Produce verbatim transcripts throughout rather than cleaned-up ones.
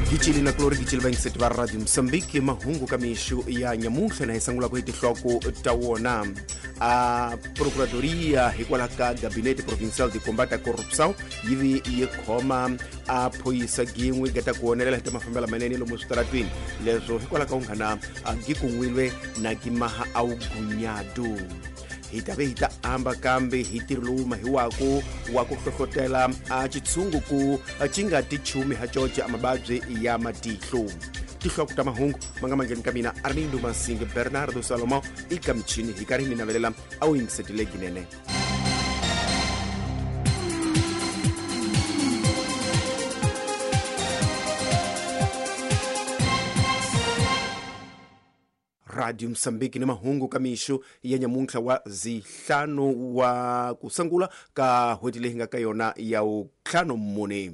Gicili na kulori gicili vayingiseti va Radio Mozambique mahungu ka mixo ya nyamuntlha na hi sungula ku hi tinhloko ta wona. A Procuradoria hikwalaho ka Gabinete Provincial de Combate à Corrupção yi vi yi khoma a phoyisa gin'we gata ku onelela hi ta mafambelo manene lomu switaratwini leswo hikwalaho ka unghana gi kun'wilwe na gimaha a wugunyadu. Hi ta ve hi ta amba kambe hi ntirho lowu mahiwaku wa ku hlohlotela a xitshungu ku xi nga ti chumi ha coce a mavabyi ya matihlo. Tinhloko ta mahungu ma nga mangheni ka mina Armindo Masinge Bernardo Salomão i ka michini hi karhi hi mi navelela a wu yingisetile ginene. Radio Mozambique ni mahungu ka mixo ya nyamuntlha wa zihlanu wa kusangula ka hweti leyi nga ka yona ya ntlhanu mune.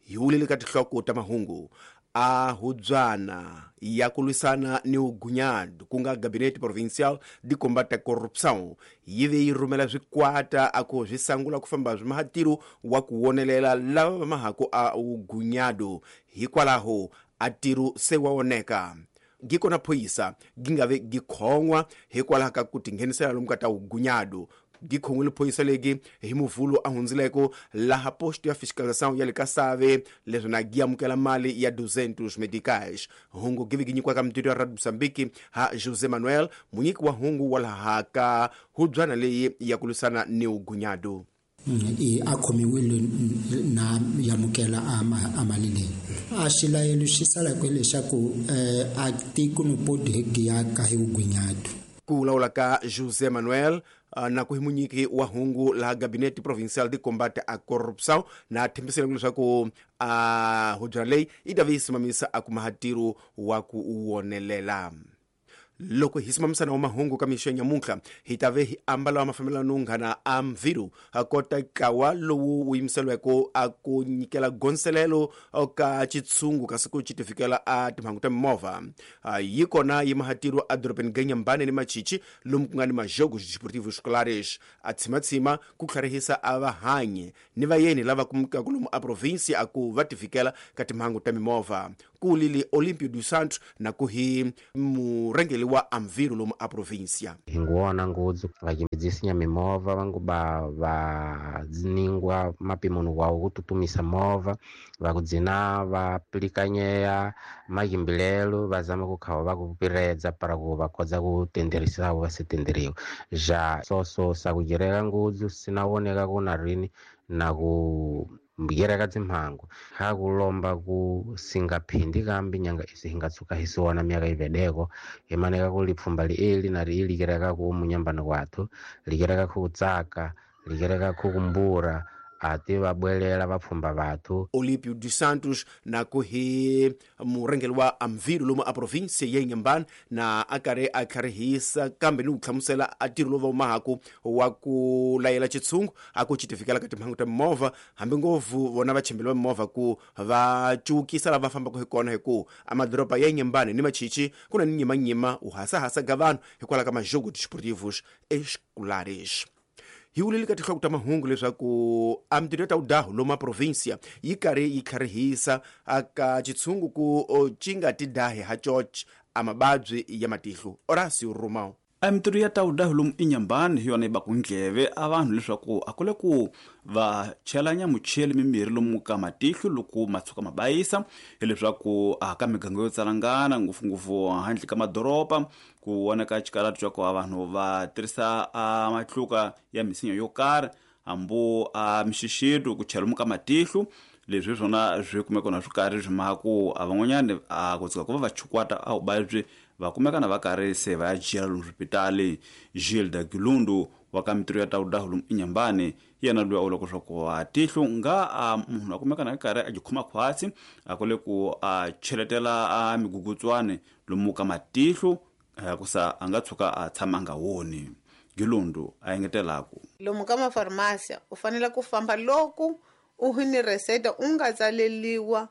Hi wulile ka tinhloko ta mahungu a hubyana ya ku lwisana ni ugunyadu ku nga Gabinete Provincial de Combate à Corrupção yi ve yi rhumela swikwata a ku swi sangula ku famba swi mahatiro wa ku wonelela lava va mahaku a ugunyadu hikwalaho a ntirho se wa oneka. Gikona phoyisa gi nga ve gi khon'wa hikwalaho ka ku tinghenisela lomu ka ta ugunyadu. Gi khon'wile phoyisa legi hi muvhulo a hundzileko laha posto ya fiscalização ya le ka Save leswi na gi amukela mali ya duzentos medicais. Hungu gi ve gi nyikiwa ka mutiro ya Radio Mozambique ha José Manuel munyiki wa hungu wa laha ka hubyana leyi ya ku lwisana ni ugunyadu. I a khomiwile na yamukela a mali leyi a xilayelo xi sala ku leswaku a tiko no podi ya ka hi ugunyadu. Ku vulavula ka José Manuel na ku hi munyiki wa hungu laha Gabinete Provincial de Combate à Corrupção na thembisile leswaku a hubyana leyi yi ta ve yi simamisa a kuma ntirho wa ku wonelela. Loko hi simamisana wa mahungu ka mixo ya nyamuntlha hi ta ve hi ambala wa mafambelano nghana a mviru a kota ntlawa lowu wu yimiseliweke a ku nyikela gonselelo ka xitshungu kasi ku xi tifikela a timhangu ta mimovha. Yi kona yi mahatiro a dorobeni ga Nyambane ni Machichi lomu ku nga ni majogos desportivos escolares a tshimatsima ku tlharihisa a vahanyi ni vayeni lava kumekaka lomu a provinsia a ku va tifikela ka timhangu ta mimovha. Ku lili Olimpio dos Santos na ku hi murhangeri wa Amviro lomu a provinsia. Hi nguwona ngudzu vakimbedzisinya mimovha vangu ba va dziningwa mapimoni wawo ku tutumisa movha va ku dzina va pilikanyea makimbilelo va zama ku khawa va ku piredza para ku va kodza ku tenderisa va se tenderiwa ja soso sa ku gereka ngudzu sina woneka ku na rini na ku mbuyereka dzimhangu ha kulomba ku singaphindi kambi nyanga isi hingatsuka hisiwana myaka ivedeko himaneka ku lipfumba lieli na ri likereka ku munyambano wathu likereka ku tsaka likereka ku kumbura ati va bwelela vapfhumba vathu. Olímpio dos Santos na ku hi murhangeri wa Amviro lomu a provinsia ya Inhambane na a karhi a tlharihisa kambe ni ku hlamusela a ntirho lowu va wu mahaku wa ku layela xitshungu a ku xi tifikela ka timhangu ta mimovha hambi ngopfu vona vachimbeli va mimovha ku va cukisa lava fambaka hi kona hi ku a madoroba ya Inhambane ni Machichi ku na ni nyimanyima u hasahasa ka vanhu hikwalaho ka majogo desportivos escolares. Hi wulile ka tinhloko ta mahungu leswaku a mintirho ya ta udahu lomu a provinsia yi karhi yi tlharihisa aka xitshungu ku xi nga ti dahi ha coce a mavabyi ya matihlo. Horacio Romão. A mintirho ya ta udahu lomu Inhambane hi yona yi baku ndleve a vanhu leswaku a kule ku va chelanya mucheli mimirhi lomu ka matihlo loko ma tshuka ma bayisa hileswaku a ka miganga yo tsalangana ngopfungopfu handle ka madoroba ku vonaka xikaratu xa ku a vanhu va tirhisa a matluka ya misinya yo karhi hambu a mixixito ku chela lomu ka matihlo leswi swona swi kumeka na swi karhi swi maka ku a van'wanyani a ku tshuka ku va va chukwata a vuvabyi va kumeka na va karhi se va ya jela lomu swipitali. Gilda Gilundu wa ka mintirho ya ta udahu lomu Inhambane yena loyi a vulaka leswaku a tihlo nga a munhu a kumeka na karhi a ji khoma khwatsi a kule ku a cheletela a migugutswani lomu ka matihlo ku sa a nga tshuka a tshama a nga woni. Gilundu a engetelaku lomu ka mafarmasiya u fanele ku famba loko u hi ni reseta u nga tsaleliwa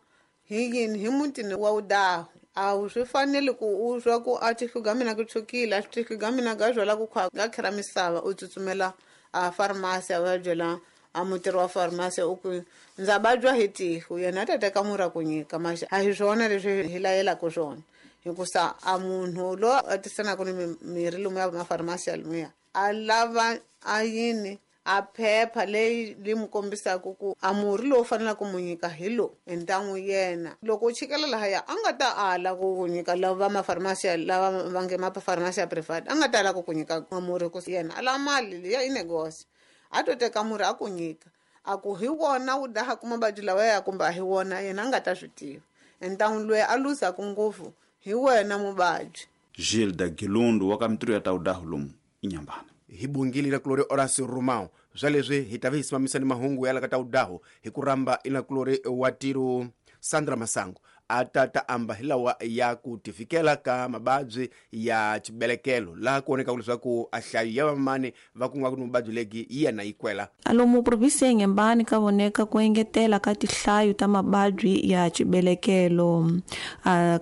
hi yini hi mutini wa udahu a wu swi fanele ku u swa ku a tihlo ga mina ku tshukile a tihlo ga mina ga byala ku khwa ga khera misava u tsutsumela a farmasi va byela a mutirhi wa farmasi u ku ndza vabya hi tihlo yena a ta teka murhi a ku nyika maxa a hi swona leswi hi layelaka swona hikusa a munhu loyi a tisanaka ni mirhi lomuya mafarmasi lomuya a lava a yini a phepha leyi li mu kombisaka ku a murhi lowu faneleke mu nyika hi lowu entan'wu yena loko u chikela lahaya a nga ta ala ku ku nyika lava mafarmasi lava va nge mafarmasi ya private a nga ta ala ku ku nyika murhi ku yena a lava mali liya i negosi a to teka murhi a ku nyika a ku hi wona wu dahaka mavabyi lawa ya kumbe a hi wona yena a nga ta swi tiva entan'wu loyi a luzaka ngopfu hi wena muvabyi. Gilda Gilundu wa ka mitirho ya tawudahu lomu Inhambane. Hi bungile na kulori Horacio Romão swa leswi hi ta vi hi simamisa ni mahungu ya la ka tawudahu hi ku ramba ina kulori wa tiro Sandra Masango a ta ta amba hi lawa ya ku tifikela ka mababyi ya chibelekelo laha ku vonekaka leswaku a hlayo ya vamani va ku nga ku ni vuvabyi legi yi ya na yi kwela. Alomu provinsi ya Inhambane ka voneka ku engetela ka tihlayo ta mababyi ya chibelekelo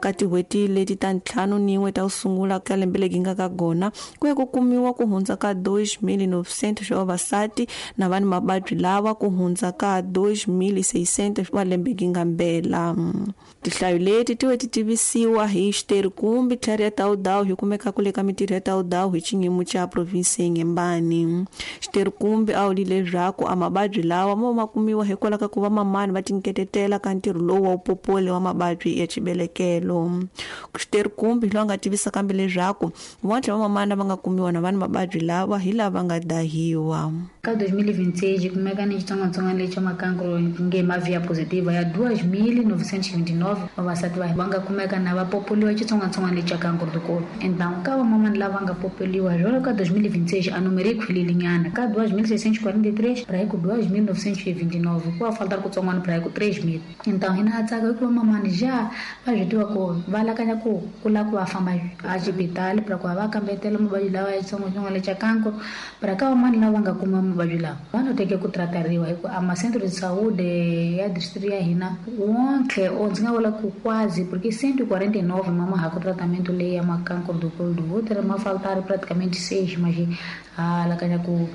ka tin'hweti leti ta ntlhanu nin'we ta ku sungula ka lembe legi nga ka gona ku ya ku kumiwa ku hundza ka dois mil novecentos wa vavasati na vanhu mababyi lawa ku hundza ka dois mil seiscentos wa lembe gi nga mbela. Tihlayo leti ti ti tivisiwa hi xiterikumbi tlhari ya tawudawu hi kumeka kule ka mitirho ya tawudawu hi xiyimo xa provinsi ya Inhambane. Xiterikumbi a wuli leswaku a mababyi lawa mo ma kumiwa hikwalaho ka ku va mamani va tinketetela ka ntirho lowu wa upopole wa mababyi ya chibelekelo. Xiterikumbi hi loyi a nga tivisa kambe leswaku van'wana va mamani va nga kumiwa na vanhu mababyi lawa hi lava nga dahiwa. Ka dois mil e vinte e seis kumeka ni xitsongwatsongwana lexi xa makankro nge mavia positiva ya dois mil novecentos e vinte e nove vavasati va va nga kumeka na va popoliwa xitsongwatsongwana lexi xa kankro dikolo. Então ka vamamani lava nga popoliwa jolo ka dois mil e vinte e seis a número yi khwililinyana ka dois mil seiscentos e quarenta e três para ku dois mil novecentos e vinte e nove ku va falta kutsongwana para ku três mil. Então hina ha tsaka hikuva mamani ja va swi tiva ku va lakanya ku ku lava ku va famba a xibitali para ku va va kambetela mavabyi lawa ya xitsongwatsongwana lexa kankro para ka vamani lava nga kuma mavabyi lawa va no teke ku tratariwa hi ku a ma-centro de saúde ya distrito ya hina wonke o ndzi nga vula ku quase porque cento e quarenta e nove mama ha ku tratamento leyi ya makankro do colo do útero ma faltar praticamente seis mas a lakanya ku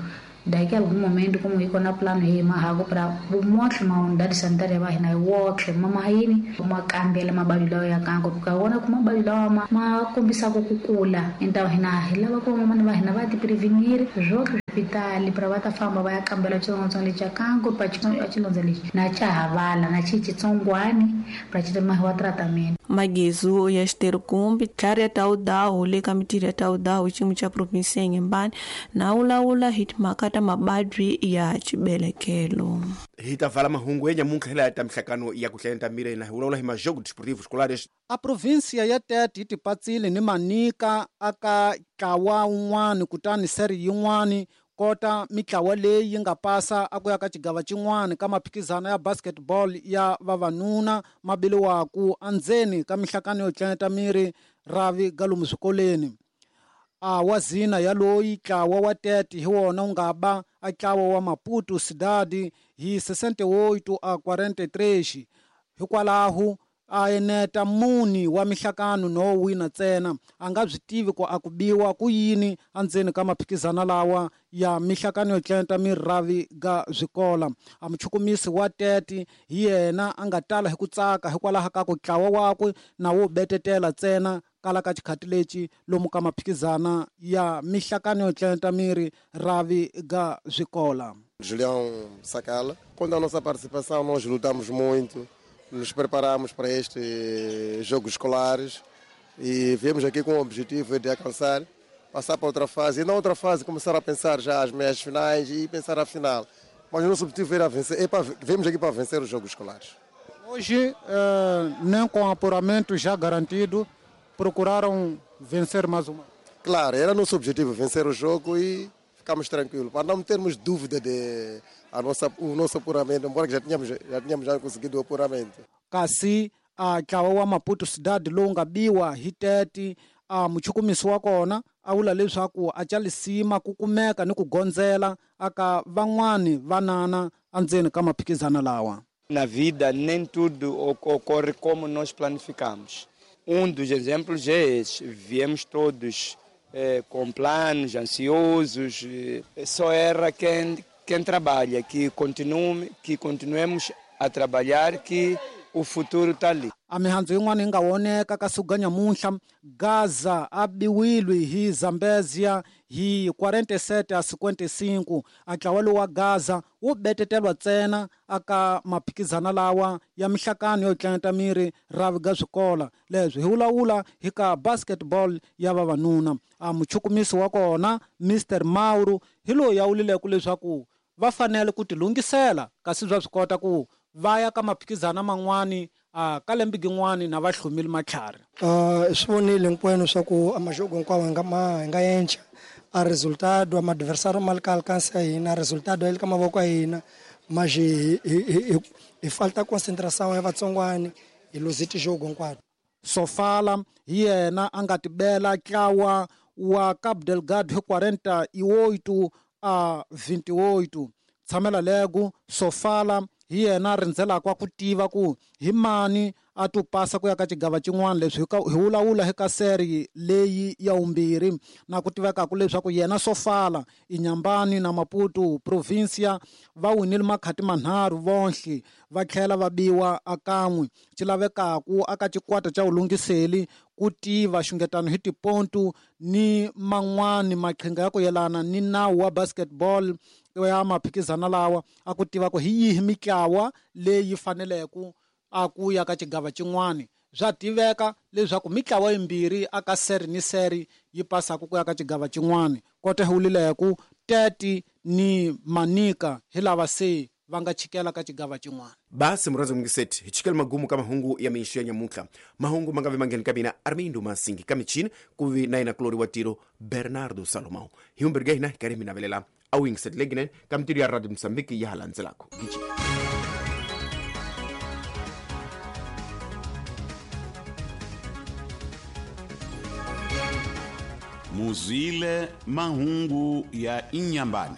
daqui a algum momento como iko na plano hi mahago para motlhe ma unidade sanitária va hina wotlhe mama yini ma kambela mababyi lawa ya kanko ka wona ku mababyi lawa ma ma kombisaka ku kula então hina hi lava ku mamani va hina va ti prevenir zwotlhe hospitali para va ta famba va ya kambela xitsongwatsongwana lexi xa kanko pa xilondza lexi na xa havala na xi xitsongwani para xi mahiwa tratamento. Magezu ya xiterikumbi tlhari ya tawudawu le ka mitirho ya tawudawu xiyimo xa provinsi ya Inhambane na wulawula hi timhaka ta mababyi ya chibelekelo. Hi ta vala mahungu ya nyamuntlha hi laya ta mihlakano ya ku hlayenta miri na hi vulavula hi majogo desportivo escolares. A provinsia ya Tete yi tipatsile ni Manica aka ntlawa wun'wani kutani seri yin'wani kota mitlawa leyi yi nga pasa a ku ya ka xigava xin'wana ka maphikizano ya basketball ya vavanuna mabiliwaku andzeni ka mihlakano yo tlanyeta miri ravi galomu swikoleni. A wazina ya loyi ntlawa wa Tete hi wona wu nga ba a ntlawa wa Maputo Cidade hi sessenta e oito a quarenta e três hikwalaho a eneta muni wa mihlakano no wina ntsena a nga byi tivi ku a ku biwa ku yini andzeni ka maphikizano lawa ya mihlakano yo tlenta miravi ga swikola. A muchukumisi wa Tete hi yena a nga tala hi ku tsaka hikwalaho ka ku ntlawa wakwe na wo betetela ntsena kala ka xikhati lexi lomu ka maphikizana ya mihlakano yo tlenta miri ravi ga swikola. Julião Sacala, quando a nossa participação nós lutamos muito, nos preparamos para estes jogos escolares e viemos aqui com o objetivo de alcançar, passar para outra fase e na outra fase começar a pensar já as meias finais e pensar a final. Mas o nosso objetivo era vencer, é para, viemos aqui para vencer os jogos escolares. Hoje, eh, nem com apuramento já garantido, procuraram vencer mais uma? Claro, era nosso objetivo vencer o jogo e ficamos tranquilos, para não termos dúvida de a nossa, o nosso apuramento, embora que já tínhamos, já tínhamos já conseguido o apuramento. Kasi a ntlawa wa Maputo Cidade lowu nga biwa hi Tete a muchukumisi wa kona a vula leswaku a ca lisima ku kumeka ni ku gondzela aka van'wani vanana andzeni ka maphikizano lawa. Na vida nem tudo ocorre como nós planificamos. Um dos exemplos é esse, viemos todos eh, com planos, ansiosos, eh, só erra quem quem trabalha, que continue, que continuemos a trabalhar, que o futuro está ali. A mihandzu yin'wana yi nga voneka ka siku ga nyamuntlha Gaza a biwile hi Zambezia hi quarenta e sete a cinquenta e cinco. A ntlawa lowu wa Gaza wu betetelwa ntsena aka maphikizana lawa ya mihlakano yo tlangeta miri ravi ga swikola. Leswi hi vulavula hi ka basketball ya vavanuna. A muchukumisi wa kona Mister Mauro hi loyi ya wulileke leswaku va fanele ku tilunghisela, kasi bya swi kota ku va ya ka maphikizana man'wani a ka lembe gin'wani na va hlomile matlhari. Uh, swi vonile hinkwenu swa ku a majogo hinkwawo hi nga ma hi nga yenca a resultado, ama adversário ma le ka alcance ya hina, resultado ya le ka mavoko ya hina, mas hi hi hi hi falta concentração ya vatsongwani, hi luze tijogo hinkwato. Sofala hi yena a nga tibela ntlawa wa Cabo Delgado hi quarenta e oito a vinte e oito. Tshamela lego Sofala hi yena a rindzelaka ku tiva ku hi mani a to pasa ku ya ka xigava xin'wana. Leswi hi vulavula hi ka seri leyi ya vumbirhi na ku tivekaka leswaku yena Sofala, Inhambane na Maputo Provincia va winile makhati manharhu vonhle, va tlhela va biwa akan'we. Xi lavekaku aka xikwata xa vulungiseli ku tiva xungetano hi tipontu ni man'wani maqhinga ya ku yelana ni nawu wa basketball ya maphikizana lawa, a ku tiva ku hi yihi mitlawa leyi faneleke a ku ya ka xigava xin'wani. Swa tiveka leswaku mitlawa yimbirhi aka seri ni seri yi pasaka ku ya ka xigava xin'wani. Kota hi wulileku Tete ni Manika hi lava se va nga chikela ka xigava xin'wana. Basi murhandzi mungiseti, hi chikela magumu ka mahungu ya mixo ya nyamuntlha. Mahungu ma nga vi mangheni ka mina Armindo Masingi, ka michini ku vi na yena kulori wa tiro Bernardo Salomão. Hi vumbirhi ka hina hi karhi mi navelela a wu yingiseti leginene ka mitirho ya Radio Mosambiki ya ha landzelaka. Gici. Muzwile mahungu ya Inhambane.